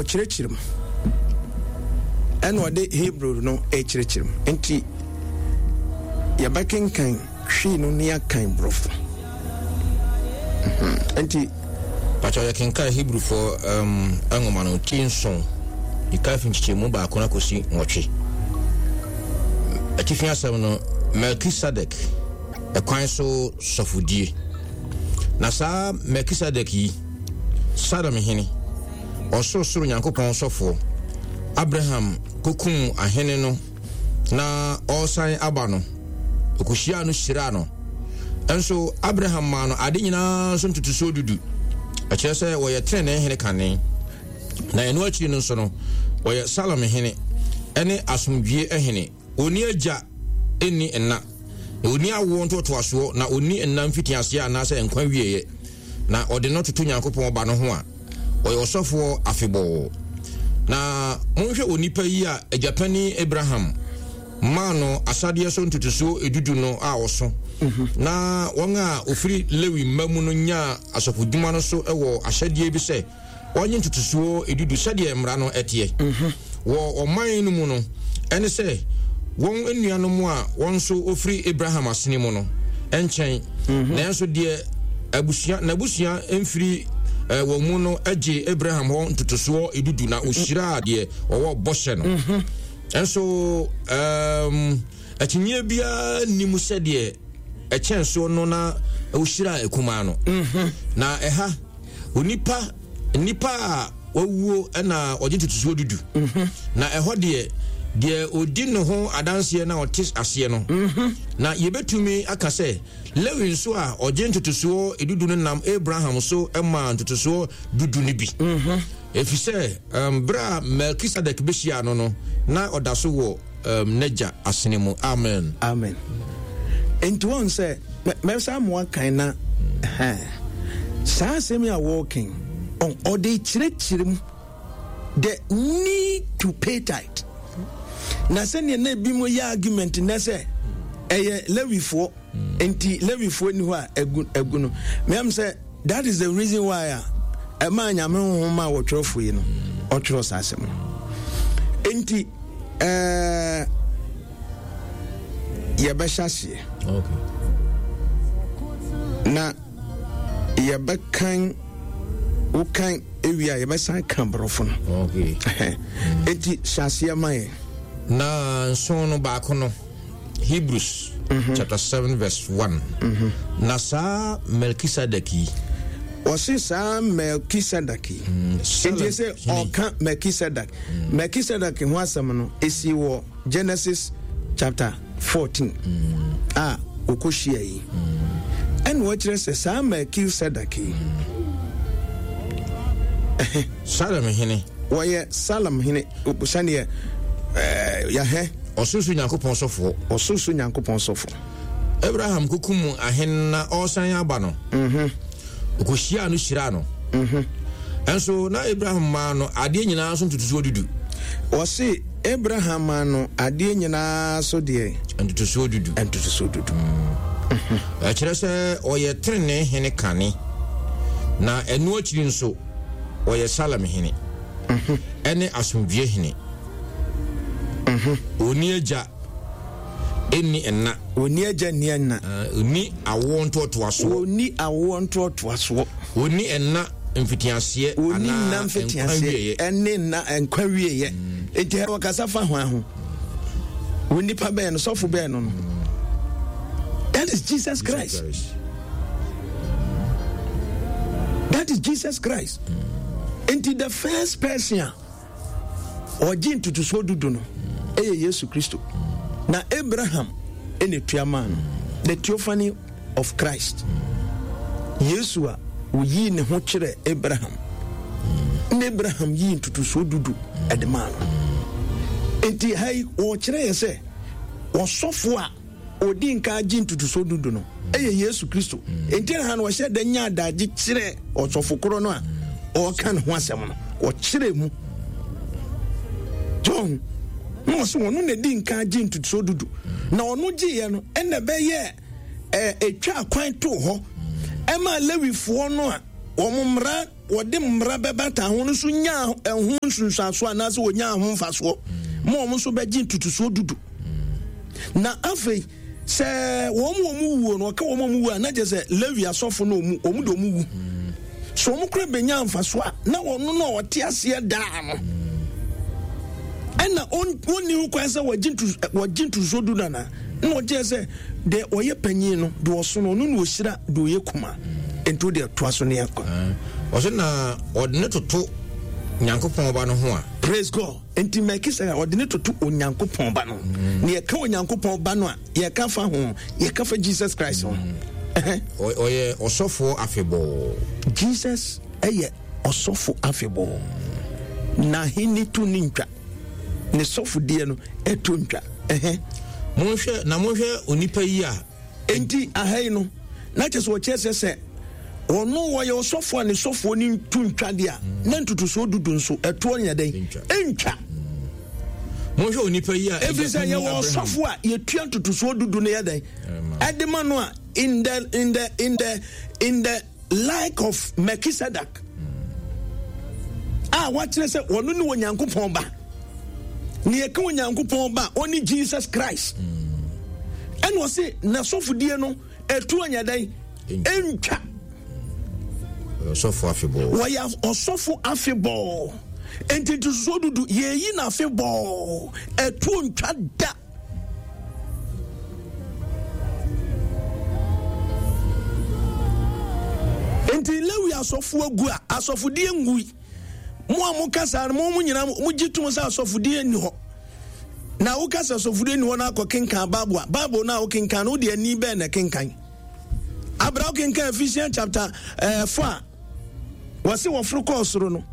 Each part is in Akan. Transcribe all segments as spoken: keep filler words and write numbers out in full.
Ɔkyerɛkyerɛ mu ɛna ɔde Hebrew no ɛkyerɛkyerɛ mu, nti yɛbɛkenkan Twi no ne yɛakan Borɔfo. Nti Pakyɛ, yɛkenkan Hebrewfoɔ um, nwoma no ti nson, yɛka fi nkyekyɛmu baako no akɔsi nwɔtwe. Atifi asɛm no, Melkisedek ɛkwan so sɔfodie. Na saa Melkisedek yi, Salem hene, Ɔsorosoro Nyankopɔn sɔfoɔ, Abraham kokum ahene no na ɔresan aba no, ɔkɔhyiaa no hyiraa no. Nso Abraham maa no ade nyinaa so ntotosoɔ dudu. Ɛkyerɛ sɛ wɔyɛ tenenee hene kane, na ɛno akyiri no nso no, wɔyɛ Salem hene ne asomdwie hene. Ɔnni agya, ɛnni nna, na ɔnni awoɔ ntoatoasoɔ, na ɔnni nna mfitiaseɛ anaasɛ nkwa wieɛ. Na ɔde no toto Nyankopɔn Ba no ho a, ɔyɛ ɔsɔfoɔ afebɔɔ. Na monhwɛ onipa yi a agyapanin Abraham maa no asadeɛ so ntotosoɔ edudu no a ɔso, na wɔn a wɔfiri Lewi mma mu no nyaa asɔfodwuma no so wɔ ahyɛdeɛ bi sɛ wɔnye ntotosoɔ edudu sɛdeɛ mmara no teɛ wɔ ɔman no mu no, ɛne sɛ wɔn nuanom a wɔn nso wɔfiri Abraham asene mu no nkyɛn. Nanso deɛ abusua n'abusua mfiri eh, wɔn mu no gye Abraham hɔ ntotosoɔ edudu na ɔhyiraa deɛ ɔwɔ bɔhyɛ no. Nso um, akyinnyeɛ biara nni mu sɛ deɛ ɛkyɛn soɔ no na ɔhyiraa akumaa no. Na ɛha onipa nnipa a wawuo na ɔgye ntotosoɔ dudu, na ɛhɔ deɛ, deɛ ɔdi ne ho adanseɛ na ɔte aseɛ no. Na yɛbɛtumi aka sɛ Lewi nso a ɔgye ntotosoɔ edudu no nam Abraham so maa ntotosoɔ dudu no bi, ɛfiri sɛ um, berɛ a Melkisedek bɛhyiaa no no na ɔda so wɔ um, n'agya asene mu. Amen. Amen. Nti wɔn sɛ mɛsa mo akan na saa asɛm yi a wɔreken, ɔde kyerɛkyerɛ mu the need to pay tithe, na sɛnea na ebi mo yɛ argument nɛ sɛ ɛyɛ Lewifoɔ nti Lewifoɔ ni hɔ a egu egu no, mɛm sɛ that is the reason why a ɛmaa Nyame honhom a wɔtwerɛfoɔ yi no ɔtwerɛ saa asɛm no. Nti ɛɛ yɛbɛhyɛ aseɛ na yɛbɛkan, wokan ewie a yɛbɛsan ka Borɔfo no. Enti hyɛ aseɛ ma yɛn. Na nson no baako no, Hebrews mm -hmm. chapter seven verse one. Mm -hmm. Na saa Melkisedek yi, Wɔse saa Melkisedek yi, mm, nti sɛ ɔka Melkisedek, mm. Melkisedek ho asɛm no ɛsi wɔ Genesis chapter fourteen mm. a wɔkɔhyia yi, ɛna wɔkyerɛ sɛ saa Melkisedek yi, Salem hene. Wɔyɛ Salem hene sɛneɛ yɛhɛ. Ɔsorosoro Nyankopɔn sɔfoɔ. Ɔsorosoro Nyankopɔn sɔfoɔ. Abraham kokum ahene na ɔresan aba no, ɔkɔhyiaa no hyiraa no. Nso na Abraham maa no adeɛ nyinaa so ntotosoɔ dudu. Wɔse Abraham maa no adeɛ nyinaa so deɛ? Ntotosoɔ dudu. Ntotosoɔ dudu. Ɛkyerɛ sɛ ɔyɛ tenenee hene kane, na ɛno akyiri nso ɔyɛ Salem hene ɛne asomdwie hene. Ɔnni agya, ɛnni ɛna. Ɔnni agya, nni ɛna. Ɔnni awoɔ ntoatoasoɔ. Ɔnni awoɔ ntoatoasoɔ. Ɔnni ɛna mfitiaseɛ. Ɔnni nna mfitiaseɛ ɛne nna nkwa wieɛ. Enti wɔkasa fa hwan ho? Wo nipa bɛn no, sɔfo bɛn no no That is Jesus Christ. That is Jesus Christ. Nti the first person a ɔgye ntotosoɔ dudu no ɛyɛ Yesu Kristo, na Abraham ɛna etua maa no, the theophany of Christ. Yesu a oyii ne ho kyerɛ Abraham na Abraham yii ntotosoɔ dudu ɛde maa no. Nti ha yi wɔkyerɛ yɛ sɛ ɔsɔfo a ɔdi nka gye ntotosoɔ dudu no ɛyɛ Yesu Kristo. Nti ha no wɔhyɛ da nya adagye kyerɛ ɔsɔfo korɔ no a ɔreka ne ho asɛm no, wɔkyerɛ mu John na ɔsɛ ɔno na di nka gye ntotosoɔ dudu, na ɔno gyeeɛ no ɛna ɛbɛyɛ ɛɛ etwa kwan to hɔ ɛma Lewifoɔ no a wɔn mmara wɔde mmara bɛbata ho no nso nyaa ɛho nsunsuansoɔ anaasɛ wɔnyaa ho mfasoɔ ma wɔn nso bɛgye ntotosoɔ dudu. Na afei sɛ wɔn wɔn wuo no, ɔka wɔn wɔn wuo a, na kyerɛ sɛ Lewi asɔfo no wɔn wɔn de wɔn wu. So wɔn kora bɛnya mfasoɔ a, na wɔn no a wɔte aseɛ daa no ɛna wɔnni ho kwan sɛ wɔgye wɔgye ntotosoɔ du nana. Na wɔgye sɛ deɛ ɔyɛ panyin no deɛ ɔso no, ɔno na ɔhyira deɛ ɔyɛ kuma. Nti wo deɛ toa so ne akɔ. Ɔsɛ na ɔde ne toto Nyankopɔn ba no ho a. Praise God. Nti Melchizedek ɔde ne toto Onyankopɔn ba no. Mm. Na yɛka Onyankopɔn ba no a, yɛka fa ho, yɛka fa Jesus Christ ho. Mm. Ɔyɛ ɔsɔfoɔ afebɔɔ. Jesus ɛyɛ ɔsɔfo afebɔɔ. N'ahenni to ne ntwa. Ne sɔfodeɛ no ɛto ntwa. Monhwɛ na monhwɛ onipa yi a. Enti aha yi no, na kyerɛ sɛ wɔkyerɛ sɛ sɛ ɔno wɔyɛ ɔsɔfo a ne sɔfoɔ no nto ntwa deɛ a, na ntotosoɔ dudu nso ɛtoɔ nyɛ dɛn? Ɛntwa. Monhwɛ onipa yi a ɛfiri sɛ yɛwɔ ɔsɔfo a yɛtua ntotosoɔ dudu no yɛ dɛn? Ɛde ma no a in the in the in the in the like of Melchizedek a wakyerɛ sɛ ɔno ne Onyankopɔn ba. Ne yɛka Onyankopɔn ba ɔne Jesus Christ. Ɛna ɔse n'asɔfodie no ɛtu anya dɛn? Ɛntwa. Ɔsɔfo afebɔɔ. Wɔyɛ ɔsɔfo afebɔɔ. Enti ntosoɔ dudu yɛyi no afebɔɔ, ɛtuo ntwa da. Enti Lewi asɔfo agu a asɔfodie ngui. Mo a moka saa no, mo mo nyinaa mogye tom sɛ asɔfodie nni hɔ. Na woka sɛ asɔfodie nni hɔ na akɔ kenkan Bible a, Bible no a wokenkan no, wode ani bɛn na ɛkenkan? Abra wokenkan Ephesians chapter eh, four a, wɔse wɔforo kɔɔ soro no,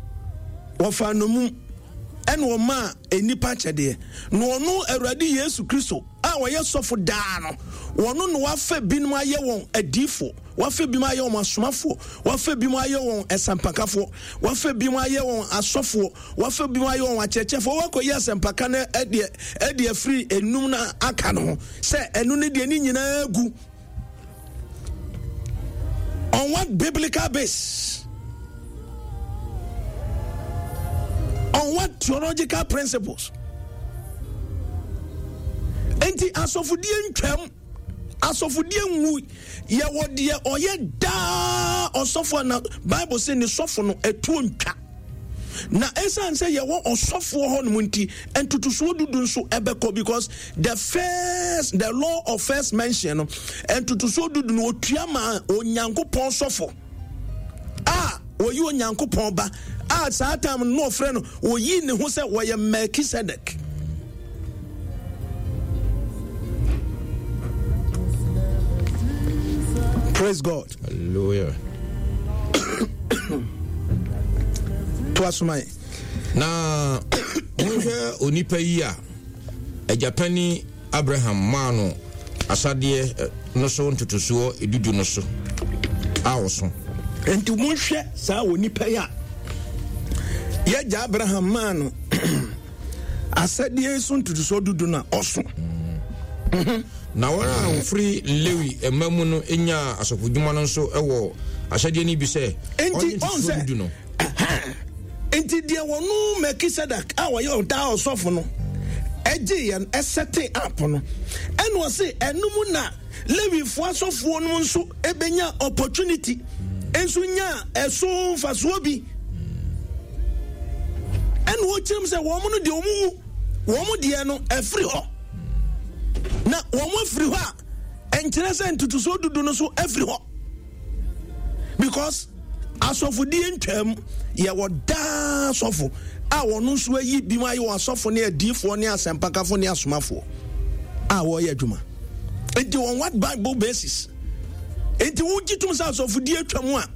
wɔfaa nnommum ɛna wɔmaa nnipa akyɛdeɛ. Na ɔno Awurade Yesu Kristo a ɔyɛ sɔfo daa no, wɔno na wafa binom ayɛ wɔn adiifoɔ, wafa binom ayɛ wɔn asomafoɔ, wafa binom ayɛ wɔn ɛsɛmpakafoɔ, wafa binom ayɛ wɔn asɔfoɔ, wafa binom ayɛ wɔn akyerɛkyerɛfoɔ. Wakɔyi asɛmpaka no ɛdeɛ ɛde afiri enum na aka no ho sɛ ɛno ne deɛ ne nyinaa gu. On what biblical base? On what theological principles? Enti asɔfodie ntwam, asɔfodie nwu, yɛwɔ deɛ ɔyɛ daa ɔsɔfo na Bible sɛ ne sɔfo no ɛtuo ntwa. Na ɛsiane sɛ yɛwɔ ɔsɔfoɔ hɔ nom nti, ntotosoɔ dudu nso ɛbɛkɔ because the first, the law of first mention no, ntotosoɔ dudu no otua ma Onyankopɔn sɔfo a wɔyi Onyankopɔn ba a saa time no ɔfrɛ no wɔyi ne ho sɛ wɔyɛ Melchizedek. Praise God. Hallelujah. To asoma. Na monhwɛ onipa yi a agyapani Abraham maa no asadeɛ no so ntotosoɔ edudu no so a ɔso. Enti monhwɛ saa onipa yi a yɛgya Abraham maa no asadeɛ so ntotosoɔ dudu no a ɔso. Mm. Na wɔn a wɔfiri Lewi mma mu no nyaa asɔfodwuma no nso wɔ ahyɛdeɛ no bi sɛ ɔnye ntotosoɔ dudu no. Enti deɛ wɔno Melchizedek a wɔyɛ ɔdaa ɔsɔfo no ɛgye yɛn ɛsɛte up no, ɛna ɔse ɛno mu na Lewifoɔ asɔfoɔ no nso ɛbɛnya opportunity nso nya ɛso mfasoɔ bi. Ɛna wɔkyerɛm sɛ wɔn no deɛ wɔn wu wɔn deɛ no ɛfiri hɔ, na wɔn afiri hɔ a ɛnkyerɛ sɛ ntotosoɔ dudu no so afiri hɔ, because asɔfodie ntwam yɛwɔ daa sɔfo a wɔn nso ayi bi mu ayɛ wɔn asɔfo ne adiifoɔ ne asɛmpakafo ne asomafoɔ a wɔreyɛ adwuma. Nti on what Bible basis? Nti wogye tom sɛ asɔfodie atwam a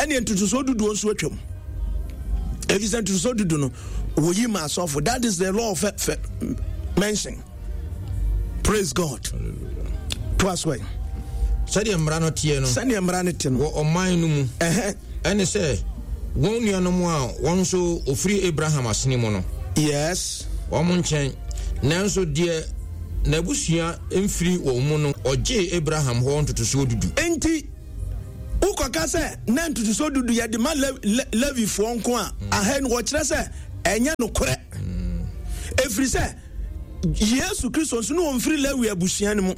ɛne ntotosoɔ duduo nso atwam, ɛfiri sɛ ntotosoɔ dudu no wɔyi ma asɔfo. That is the law of mention. Praise God. To us well. Sɛdeɛ mmara no teɛ no, sɛdeɛ mmara no te no wɔ ɔman no mu, ɛne sɛ wɔn nuanom a wɔn nso ofiri Abraham asene mu no, yes, wɔn nkyɛn. Nanso deɛ n'abusua mfiri wɔn mu no, ɔgyee Abraham hɔ ntotosoɔ dudu. Enti Wokɔka sɛ na ntotosoɔ dudu yɛde ma Levifoɔ nko a, aha no wɔkyerɛ sɛ ɛnyɛ nokorɛ. Ɛfiri sɛ Yesu Kristo nso ne wɔmfiri Lewi abusua no mu.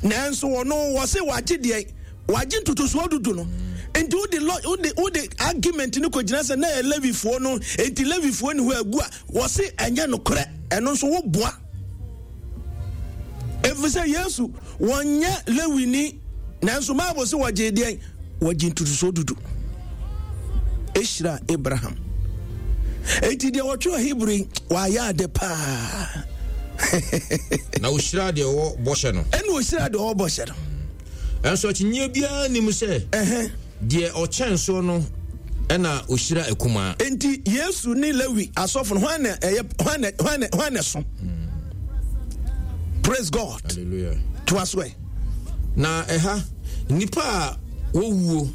Nanso wɔno wɔ se wagye deɛ wagye ntotosoɔ dudu no. Nti wode wode wode argument no kɔgyina sɛ na ɛyɛ Levifoɔ no, nti Levifoɔ ni hɔ agu a, wɔse ɛnyɛ nokorɛ. Ɛno nso woboa. Ɛfiri sɛ Yesu wɔnyɛ Lewini, nanso Bible sɛ wɔgyee deɛn? Wɔgye ntotosoɔ dudu ɛhyira Abraham. Enti deɛ wɔtwerɛ Hebrew yi, wɔayɛ ade paa. Na ɔhyira deɛ ɔwɔ bɔhyɛ no. Ɛna ɔhyira deɛ ɔwɔ bɔhyɛ no. Ɛnso akyinnyeɛ biara nnim sɛ deɛ ɔkyɛn soɔ no ɛna ɔhyira akumaa. Enti Yesu ne Lewi asɔfo no, hwan na ɛyɛ hwan na hwan na hwan na ɛso? Praise God. Hallelujah. Toa so ɛ. Na ɛha nnipa a wɔwuo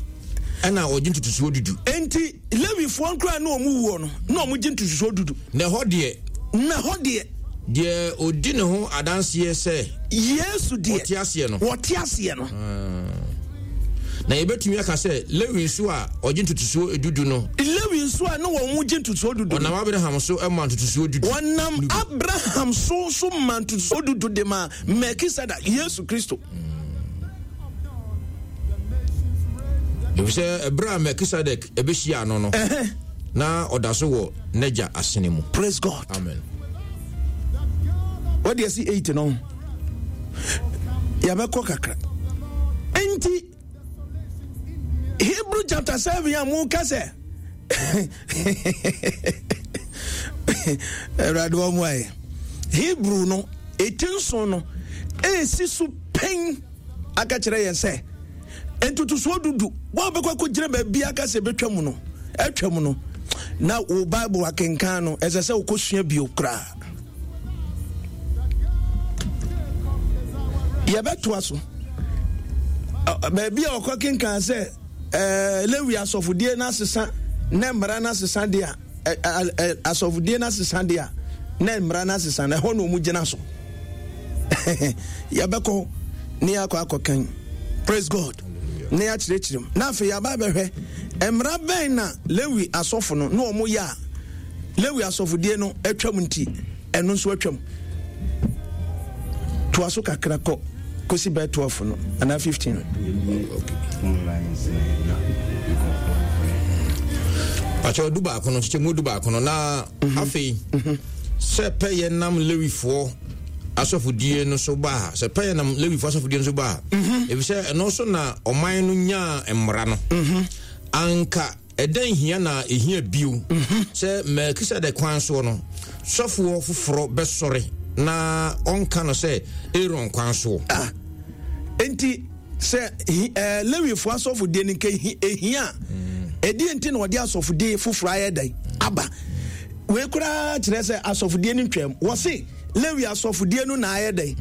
ɛna wɔgye ntotosoɔ dudu. Enti Lewifoɔ nkoraa ne wɔn wuo no na wɔn gye ntotosoɔ dudu. Na ɛhɔ deɛ. Na ɛhɔ deɛ. Deɛ ɔdi ne ho adanseɛ sɛ. Yesu deɛ. Wɔte aseɛ no. Wɔte aseɛ no. Na yɛbɛtumi aka sɛ Lewi nso a ɔgye ntotosoɔ dudu no. Lewi nso a ne wɔn gye ntotosoɔ dudu. Ɔnam Abraham so ma ntotosoɔ dudu. Wɔnam Abraham so so ma ntotosoɔ dudu de ma Melkisedek, Yesu Kristo. Efisɛ ɛberɛ a Melkisedek ɛbɛhyia no no, na ɔda so wɔ n'agya asene mu. Praise God. Amen. Wɔde asi eight no. Yɛbɛkɔ kakra. Enti Hebrew chapter seven a mo ka sɛ Awurade wɔn ayɛ Hebrew no eti nson no esi so pɛn aka kyerɛ yɛn sɛ ntotosoɔ dudu wɔn bɛkɔ akɔgyina baabi aka sɛ ɛbɛtwa mu no atwa mu no na wo Bible akenkan no ɛsɛ sɛ wokɔsua bio koraa. Yɛbɛtoa so baabi a ɔkɔ kenkan sɛ ɛɛ Lewi asɔfodie no asesa na mmara no asesa deɛ a asɔfodie no asesa deɛ a na mmara no asesa na ɛhɔ na wɔn gyina so. Yɛbɛkɔ ne yɛakɔ akɔkan. Praise God. Ne yɛakyerɛkyerɛ mu na afei yɛaba abɛhwɛ mmara bɛn na Lewi asɔfo no na wɔn yɛ a Lewi asɔfodie no atwam nti ɛno nso atwam. Toa so kakra kɔ kɔsi bɛɛ twelve no anaa fifteen. Pakyɛ du baako no kyekyɛ mu du baako no na mhm. afei mhm. sɛ pɛyɛ nam Lewifoɔ asɔfodie no so ba a sɛ pɛyɛ nam Lewifoɔ asɔfodie no so ba a mhm. efisɛ ɛno so na ɔman no nyaa mmara no anka Ɛdɛn hia na ehia bio sɛ Melkisedek kwan soɔ no, sɔfoɔ foforɔ bɛsɔre na ɔnka no sɛ Aaron kwan soɔ? Ah, enti sɛ eh, Lewifoɔ asɔfodie no nka ehia a, ɛdeɛ nti na wɔde asɔfodie foforɔ ayɛ dɛn aba? Wei koraa kyerɛ sɛ asɔfodie no ntwam. Wɔse Lewi asɔfodie no na ayɛ dɛn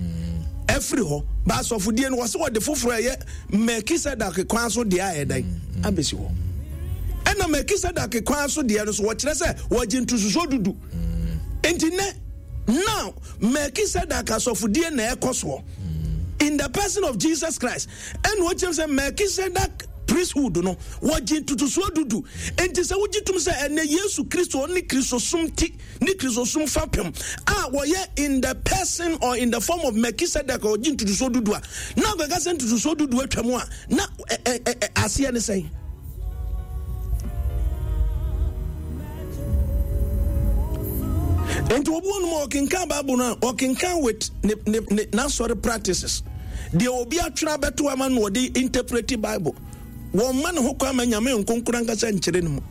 afiri hɔ, ba asɔfodie no wɔse wɔde foforɔ ɛyɛ Melkisedek kwan so deɛ ayɛ dɛn abɛsi hɔ. Ɛna Melkisedek kwan so deɛ no so wɔkyerɛ sɛ wɔgye ntososoɔ dudu. Nti nɛ now Melkisedek asɔfodie na ɛkɔ soɔ in the person of Jesus Christ. Ɛna wɔkyerɛ sɛ Melkisedek priesthood no wɔgye ntotosoɔ dudu. Nti sɛ wogye tom sɛ ɛnɛ Yesu Kristo ɔne Kristosom ti ne Kristosom fapem a wɔyɛ in the person or in the form of Melchizedek a ɔgye ntotosoɔ dudu a, na akɔka sɛ ntotosoɔ dudu atwa mu a, na aseɛ ne sɛn? Nti obi wɔ nom a ɔkenkan Bible no a ɔkenkan with ne ne ne n'asɔre practices deɛ obi atwerɛ abɛto ama no ɔde interpret Bible. Wɔmma ne ho kwan ma Nyame nkonkron ankasa nkyerɛ ne mu.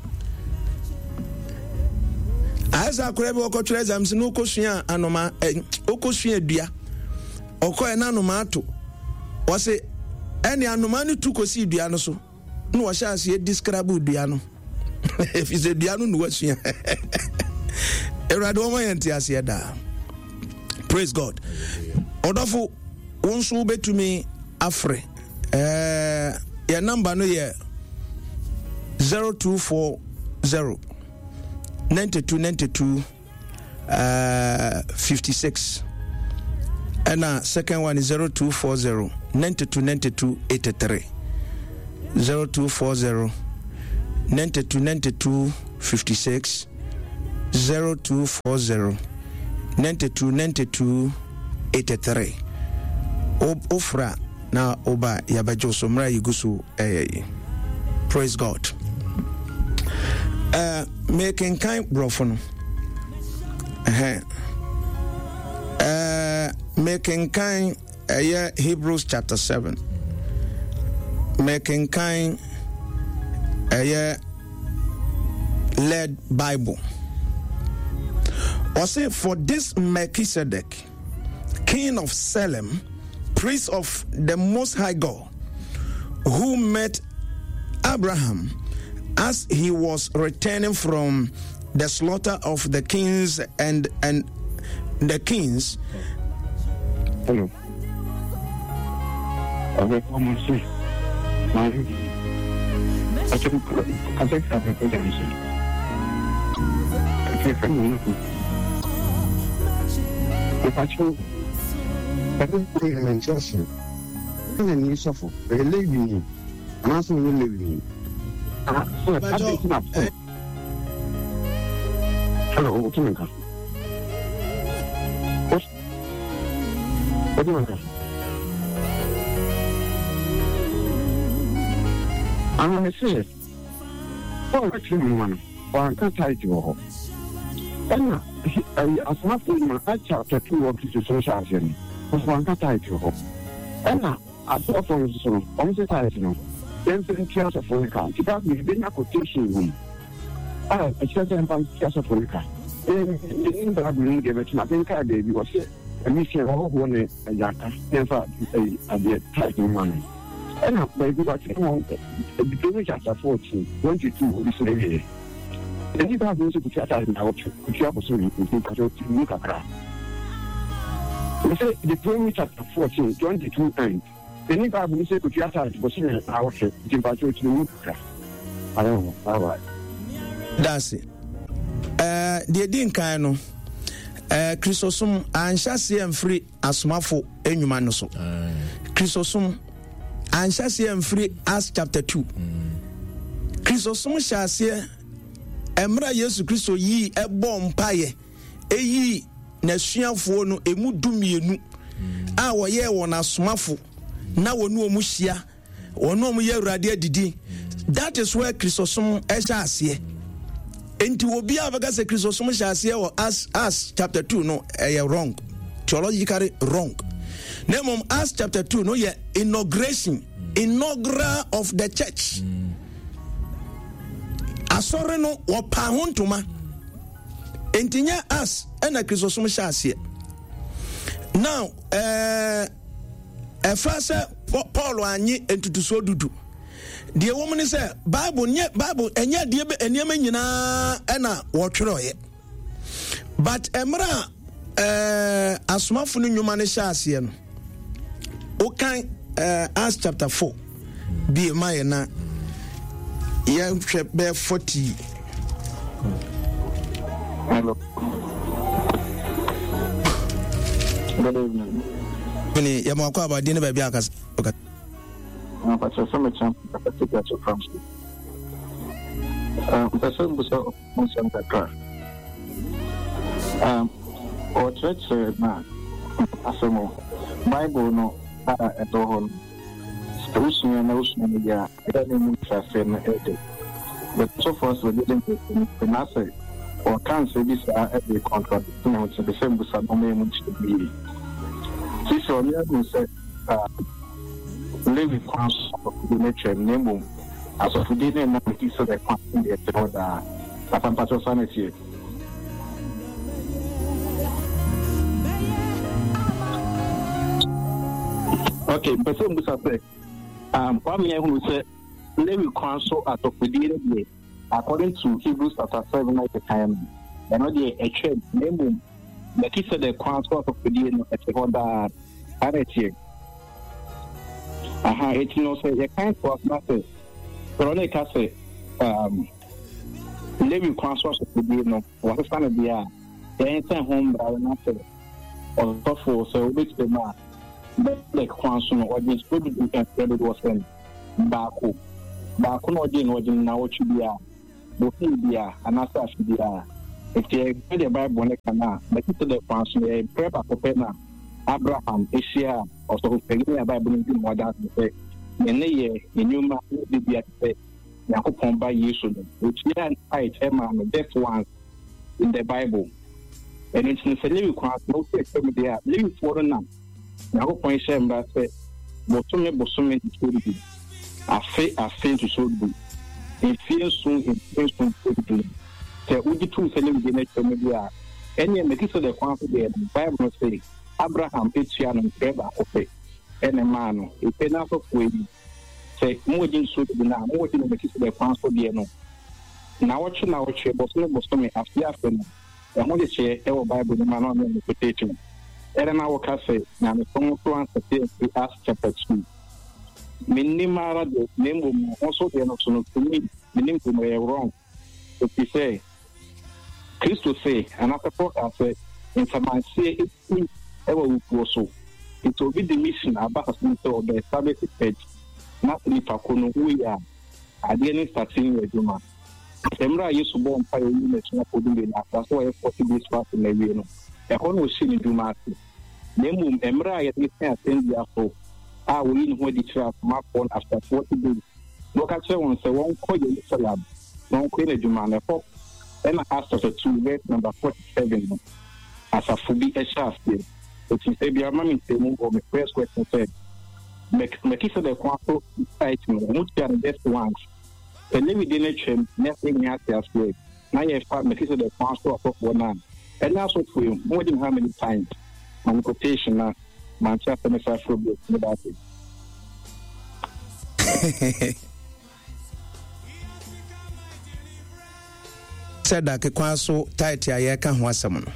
Ayɛ sɛ akwadaa bi ɔkɔtwerɛ exams no ɔkɔsua anoma ɛ ɔkɔsua dua ɔkɔɛ na anoma ato ɔse ɛne anoma no tu kɔsii dua no so na wɔhyɛ aseɛ describe dua no ɛfiri sɛ dua no na wasua. Awurade wɔma yɛn te aseɛ daa. Praise God. Ɔdɔfo wo nso wobɛtumi afrɛ. Eh, yɛn namba no yɛ zero two four zero ninety two ninety two eh, fifty six ɛna second one is zero two four zero ninety two ninety two eighty three. zero two four zero ninety two ninety two fifty six zero two four zero ninety two ninety two eighty three. Wofra na woba yɛbɛgye so mmerɛ yɛgu so ɛyɛ yi. Praise God. Uh, mekenkan borɔfo no. Uh, mekenkan ɛyɛ Hebrews chapter seven. Mekenkan ɛyɛ Led Bible. Ɔse, for this Melchizedek, king of Salem, priest of the Most High God, who met Abraham as he was returning from the slaughter of the kings and and the kings. Hello. Hello, I'm going to say, oh, one can't tie to her. And as much as chapter two of the social action, one can't tie to her. And I saw from some on the title, then tears of Africa. Because we've been a quotation room. I said, I'm tears of Africa. In the Bible, give it to my baby was a mission of one a yaka, never a title money. And I baby was the chapter fourteen, twenty-two, this lady. And you have also put out in our the Deuteronomy chapter fourteen, twenty-two, and the new Bible says, "Could you ask us our I don't know. All right. That's it. Uh, the din no, uh, Chrysostom anhyɛ amfiri asomafo enwuma no so. Chrysostom anhyɛ amfiri Acts chapter two. Chrysostom hyɛ aseɛ emra Yesu Kristo yi ɛbɔ mpaeɛ eyi n'asuafoɔ no emu dumienu a wɔyɛ wɔn asomafo na wɔne wɔn hyia wɔne wɔn yɛ Awurade adidi. That is where Chrysostom ɛhyɛ aseɛ. Enti obi a bɛka sɛ Chrysostom hyɛ aseɛ wɔ Acts, Acts chapter two no ɛyɛ wrong, theologically wrong. Na mmom Acts chapter two no yɛ inauguration, inaugural of the church. Asɔre no wɔpa ho ntoma. Enti nyɛ Acts ɛna Chrysostom hyɛ aseɛ. Now ɛɛ ɛfa sɛ Paul anyi ntutusuo dudu. Deɛ wɔn ni sɛ Bible nyɛ Bible ɛnyɛ deɛ bɛ nneɛma nyinaa ɛna wɔtwerɛeɛ. But ɛmra ɛɛ asomafo no nnwuma no hyɛ aseɛ no, wokan ɛɛ Acts chapter four bie ma yɛ na yɛhwɛ bɛyɛ forty. Hello. Good evening. Mene yɛ mo akɔ abadi ne baabi akasa. Pastor Samacha, from um, Pastor Busa Musa Um, or church na asemo Bible no a ɛtɔ hɔ no. Usua na usua no ya ɛda ne mu sase no ɛde. But so far so didn't na say or can say this a every contradict na ho te sɛ Busa no me mu kyerɛ bi. Sisi ɔne ahu sɛ Lewi kwan so ne twɛm na mmom asɔfodie ne nam ti sɛ kwan deɛ ɛte hɔ daa. Asampatɔ sa na tie. Okay, mpɛ sɛ mbusa sɛ um, Kwame ahunu sɛ Lewi kwan so asɔfodie no deɛ according to Hebrews chapter seven na yɛkan no ɛno deɛ ɛtwam na mmom Melchizedek kwan so asɔfodie no ɛte hɔ daa. Saa na ɛteɛ. Aha, eti no sɛ yɛkan to asoma sɛ sɔrɔ ne ka sɛ um, Lewi kwan so asɔfodie no wɔsesa no deɛ a yɛn sɛ ho mmara no sɛ ɔsɔfo sɛ wobɛtumi mu a Melchizedek kwan so no ɔgye nsuo dudu mfrɛ dodoɔ sɛn baako Baako na ɔgye no, ɔgye no nnawɔtwe biara, bosome biara, anaasɛ afe biara. Enti yɛhwɛ deɛ Bible no ka no a, Melkisedek kwan so no, ɛyɛ berɛ baako pɛ na Abraham hyiaa ɔsɔfo panin a Bible no di ho adanse sɛ ne nneyɛɛ, ne nnwuma, ne biribiara te sɛ Nyankopɔn Ba Yesu no. Otuaa tithe maa no just once in the Bible. Ɛno nti no, sɛ Lewi kwan so na wofi atwa mu deɛ a, Lewifoɔ no na Nyankopɔn hyɛɛ mmara sɛ bosome bosome ntotoɔ du, afe afe ntotoɔ du, mfie nson mfie nson ntotoɔ du. Sɛ wogye tom sɛ Lewi deɛ no atwa mu deɛ a, ɛnneɛ Melkisedek kwan so deɛ no, Bible no se Abraham tua no mprɛ baako pɛ na ɛmaa no. Efei n'asɔfoɔ yi, sɛ moregye ntotoɔ du no a, moregye no Melkisedek kwan so deɛ no naawɔtwe naawɔtwe, bosome bosome, afe afe no. Ɛho nhyehyɛeɛ wɔ Bible no mu a na ɔne wɔn quotation. Ɛna na wɔka sɛ nyamesom nso ansɛte amfiri Acts chapter two. Mennim ara deɛ, na mmom no, wo nso deɛ no so no, to me, menim sɛ ɛyɛ wrong. Ɛfiri sɛ, Kristo se, anaasɛ Paul kaa sɛ, nsamanseɛ ɛsi wɔ awufoɔ so. Nti obi de mission aba asase no sɛ ɔbɛ establish church, na sɛ nipa ko no wui a, adeɛ no nstate nyɛ adwuma. Mmerɛ a Yesu bɔɔ mpaeɛ yii n'asuafoɔ dumienu after sɛ wɔayɛ forty days fasting awie no, ɛhɔ na ɔhyɛɛ ne dwuma ase. Na mmom mmerɛ a yɛde no sɛn asɛnnua so a ɔyii ne ho adi kyerɛɛ asomafoɔ no after forty days na ɔka kyerɛɛ wɔn sɛ wɔnkɔ Yerusalem na wɔnkɔyɛ n'adwuma no, ɛhɔ na Acts chapter two verse number forty seven no asafo bi hyɛ aseɛ. Ɛfiri sɛ biara ma me nkyerɛmu wɔ me first question sɛ Melchizedek kwan so site no wɔn tua no just once. Sɛ Lewi de no twam na afei nyɛ ate aseɛ na yɛfa Melchizedek kwan so asɔfoɔ no a, ɛne asɔfoɔ yi mo di how many times? Ma me quotation na mante asɛm no saa frɛ bio. Meda ase. Sɛ kwan so tithe a yɛreka ho asɛm no,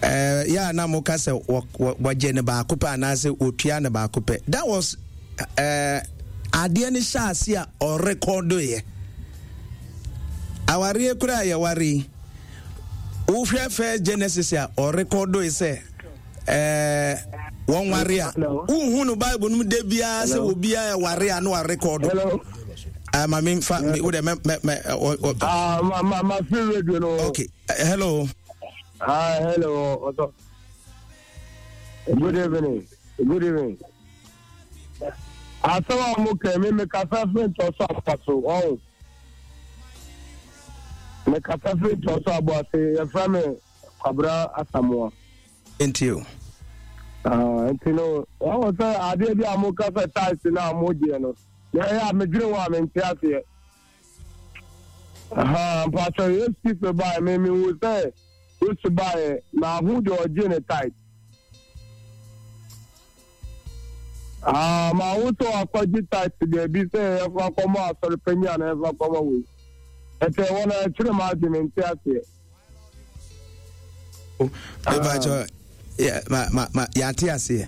eh, yɛ a na moka sɛ wɔgye no baako pɛ anaasɛ wɔtua no baako pɛ. That was eh, adeɛ no hyɛ ase a ɔrekɔdoeɛ. Awareɛ koraa a yɛware yi, wohwɛ first Genesis a ɔrekɔdoe sɛ eh, wɔn ware a wohu no Bible no mu da biara sɛ obiara ɛware a na warekɔdo. Ah, ma me fa me wo de mɛ mɛ mɛ. Ah, ma ma ma fi radio no. Okay, uh, hello. Ah, hello. What's up? Good evening. Good evening. Asɛm a mo kɛ me me kasa firi ntɔ so aba so ɔn. Me kasa firi ntɔ so abo ase yɛfrɛ me Kwabra Asamoah. Nti o. Ah, nti no wɔn sɛ adeɛ bi a mo kasa taxi na mo gyeɛ no. Na ɛyɛ a medwene ho a mente aseɛ. Ahaa, mpakyɛ Yesu Kristo baeɛ, me mehu sɛ Yesu baeɛ, mahu deɛ ɔgye ne tithe. Ah, mahu sɛ wakɔgye tithe baabi sɛ yɛfa kɔma asɔre panyin anaa yɛfa kɔma wei. Ɛtɛ wɔ na ɛkyerɛ m'adwene mente aseɛ. Mepakyɛ yɛate aseɛ,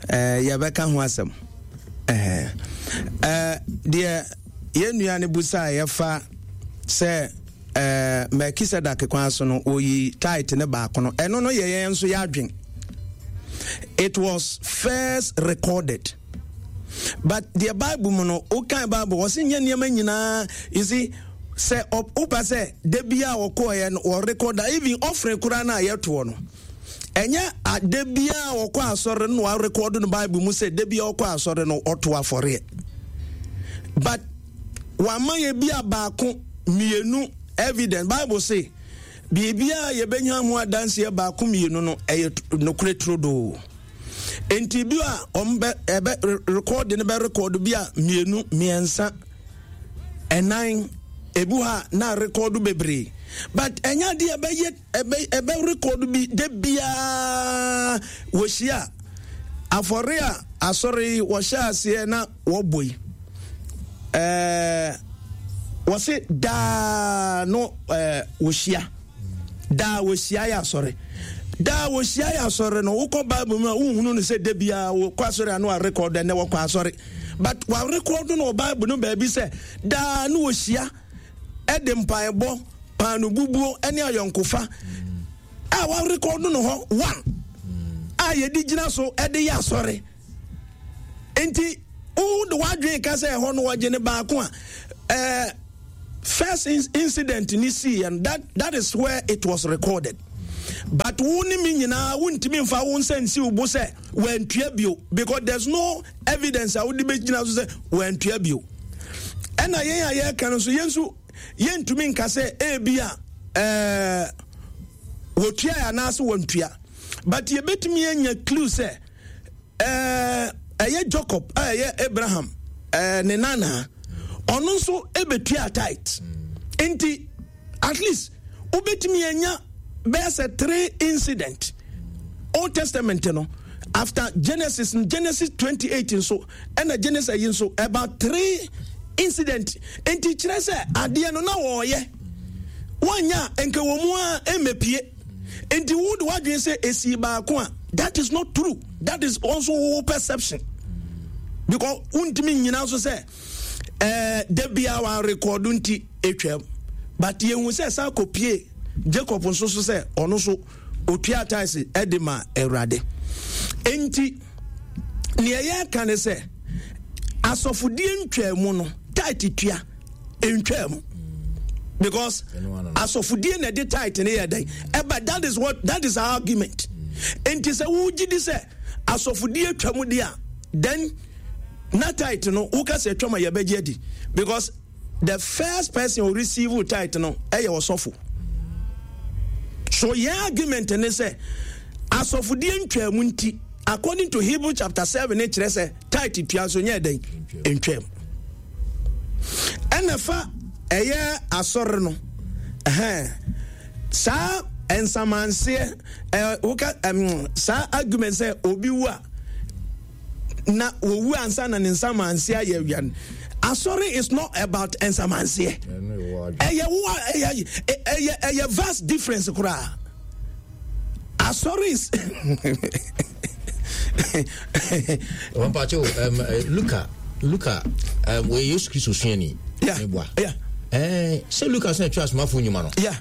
yɛbɛka ho asɛm. Deɛ yɛn nua no busa a yɛfa sɛ Melkisedek kwan so no wɔyi tithe ne baako no, ɛno no yɛ yɛn nso yɛadwen. It was first recorded. But deɛ Bible mu no, wokan Bible, wɔse nyɛ nneɛma nyinaa, you see, sɛ wopa sɛ da bi a wɔkɔɔyɛ no wɔrekɔda even offering koraa no a yɛtoɔ no, ɛnyɛ da bi a wɔkɔ asɔre no na wɔarekɔdo no Bible mu sɛ da bi a wɔkɔ asɔre no ɔto afɔreɛ. But wɔama yɛ bi a baako mmienu evidence. Bible se biribiara yɛbɛnya ho adanseɛ baako mmienu no ɛyɛ nokorɛ turodoo. Nti bi a wɔn bɛ ɛbɛ rekɔɔde no bɛ rekɔɔdo bi a mmienu mmiɛnsa ɛnan ebi hɔ a na rekɔɔdo bebree, but ɛnyɛ adeɛ ɛbɛyɛ ɛbɛ ɛbɛ rekɔɔdo bi de biara wɔhyia afɔre a asɔre yi wɔhyɛ aseɛ na wɔbɔ yi ɛɛ wɔsi daa no ɛɛ wɔhyia. Daa wɔhyia yɛ asɔre. Daa wɔhyia yɛ asɔre no, wokɔ Bible mu a wonhunu no sɛ da biara wɔkɔ asɔre ano arekɔdo ɛnɛ wɔkɔ asɔre. But wɔarekɔdo no wɔ Bible no baabi sɛ daa no wɔhyia ɛde mpaebɔ, paano bubuo ne ayɔnkofa a wɔarekɔdo no hɔ one a yɛde gyina so ɛde yɛ asɔre. Nti Wode w'adwene ka sɛ ɛhɔ no wɔgye ne baako a, eh, first incident ni sii and that, that is where it was recorded. But wo ne me nyinaa wontumi mfa wo nsa nsi wo bo sɛ wantua bio, because there's no evidence a wode bɛgyina so sɛ wantua bio. Ɛna yɛn a yɛreka no nso, yɛn nso yɛntumi nka sɛ ebi a ɛɛ wɔtua anaasɛ wɔntua, but yɛbɛtumi anya clue sɛ ɛɛ ɛyɛ Jacob a ɛyɛ Abraham ɛɛ ne nana, ɔno nso ɛbɛtua tithe. Nti at least wobɛtumi anya bɛyɛ sɛ three incident Old Testament no, after Genesis, Genesis twenty-eight nso, ɛna Genesis yi nso, about three incident. Nti kyerɛ sɛ adeɛ no na wɔɔyɛ wɔanya nka wɔ mu a ɛmɛpie. Nti wo de wadwene sɛ esi baako a, that is not true. That is also wo perception, because wontumi nyina so sɛ ɛɛ da bia wa record nti etwam. But yɛhu sɛ saa kɔpie Jacob nso so sɛ ɔno so otua tithe ɛde ma Awurade. Nti nea yɛka ne sɛ asɔfodie ntwaa mu no, tithe tua ntwaa mu, because asɔfodie na ɛde tithe ne yɛ dɛn ɛba. That is what, that is our argument. Nti sɛ wogye di sɛ asɔfodie twa mu deɛ a, then na tithe no woka sɛ twam a yɛbɛgye adi, because the first person who receive tithe no ɛyɛ ɔsɔfo. So yɛn argument ne sɛ asɔfodie ntwaa mu nti, according to Hebrew chapter seven ne kyerɛ sɛ tithe tua nso nyɛ dɛn ntwaa mu. Ɛna fa ɛyɛ asɔre no, ɛhɛn saa nsamanseɛ ɛɛ woka ɛm saa argument sɛ obi wu a na owu ansa na ne nsamanseɛ ayɛ awia no, asɔre is not about nsamanseɛ. Ɛyɛ wo ɛyɛ ɛyɛ ɛyɛ vast difference koraa. Asɔre is Mpacho, um, Luka, Luka, um, wɔ Yesu Kristo suani. Yeah. Yeah. Eh, sɛ Luka sɛ ɛtwa asomafo nnwuma no. Yeah.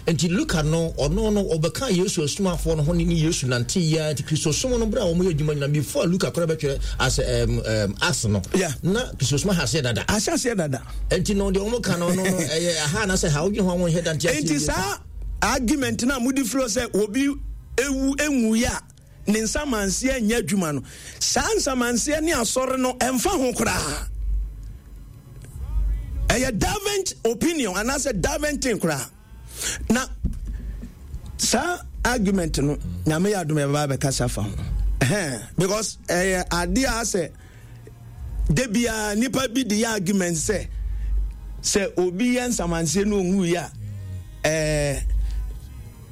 Nti Luka no, ɔno no, ɔbɛka Yesu asumafoɔ no ho ne Yesu nante yia. Nti Kristosom no, berɛ a wɔyɛ adwuma nyina, before Luka koraa bɛtwerɛ as um, um, Acts no, yeah. na Kristosom ahyɛ dada. Ahyɛ aseɛ dada. Nti no, deɛ wɔn ka no no, no ɛyɛ aha na sɛ ha wodwene ho a wɔnhwɛ da nte aseɛ. Nti saa argument no a mode firi sɛ obi ewu enwuiɛ a ne nsamanseɛ nyɛ adwuma no, saa nsamanseɛ ne asɔre no ɛmfa ho koraa. Ɛyɛ different opinion anaasɛ different thing koraa. Na saa argument no, Nyame yɛ adom yɛbɛba abɛkasa fa ho, because ɛyɛ adeɛ a sɛ da biara nipa bi de yɛ argument sɛ sɛ obi yɛ nsamanseɛ no ɔnwuiɛ a, ɛɛ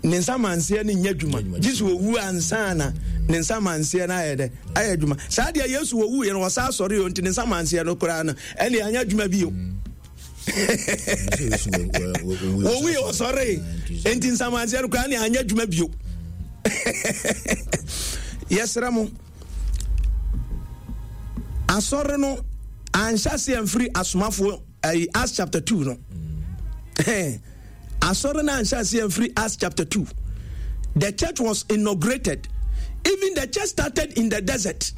ne nsamanseɛ no nyɛ adwuma, gye sɛ owu ansa na ne nsamanseɛ no ayɛ dɛ ayɛ adwuma. Saa deɛ Yesu owu yɛ no ɔsa asɔre yɛ, nti ne nsamanseɛ no koraa no ɛne anyɛ adwuma bio. Owu yɛ ɔsɔre, nti nsamanseɛ no koraa ne anyɛ adwuma bio. Yɛsrɛ mo, asɔre no anhyɛ aseɛ mfiri asomafoɔ ayi Acts chapter two no. Asɔre no anhyɛ aseɛ mfiri Acts chapter two. The church was inaugurated. Even the church started in the desert.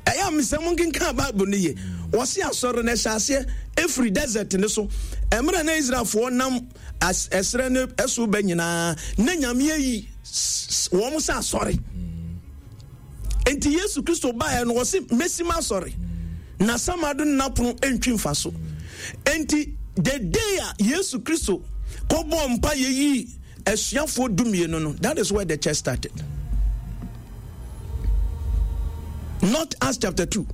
Ɛyɛ a mesɛ mo nkenka Bible no yie. Wɔse asɔre no ɛhyɛ aseɛ ɛfiri desert no so. Ɛmmerɛ na Israelfoɔ nam ɛserɛ no ɛso bɛ nyinaa na Nyame ayi wɔn sɛ asɔre. Enti Yesu Kristo baeɛ no wɔse mɛsi m'asɔre na samado no n'apono ntwi mfa so. Enti the day a Yesu Kristo kɔbɔɔ mpa yɛyii asuafoɔ dumienu no, that is where the church started. Not Acts chapter two.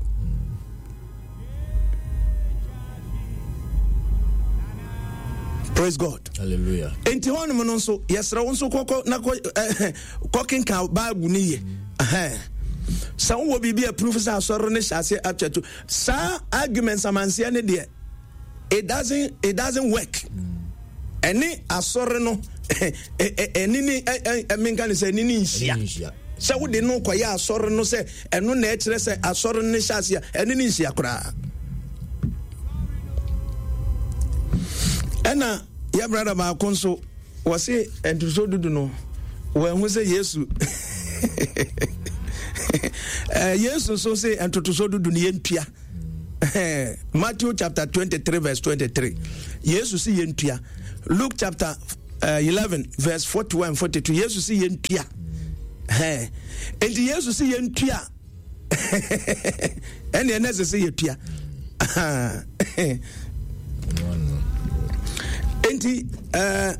Praise God. Hallelujah. Enti hɔnom no nso yɛsrɛ wo nso kɔkɔ na kɔ kɔkenka Bible no yie. Sɛ wowɔ biribi a proof sɛ asɔre no hyɛ aseɛ up to saa argument samanseɛ ne deɛ, it doesn't it doesn't work. Ɛne asɔre no ɛne ne menka ne sɛ ɛne ne nhyia. Sɛ wode no kɔyɛ asɔre no sɛ ɛno na ɛkyerɛ sɛ asɔre no hyɛ aseɛ, ɛne ne nhyia koraa. Ɛna yɛ brada baako nso wɔse ntoso dudu no wɔahu sɛ Yesu Yesu nso se ntotoso dudu no yɛntua. Matthew chapter twenty-three verse twenty-three, Yesu si yɛntua. Luke chapter uh, eleven verse forty-one forty-two, Yesu si yɛntua. Enti Yesu si yɛntua, ɛne ɛnɛ sɛ sɛ yɛtua. Enti uh,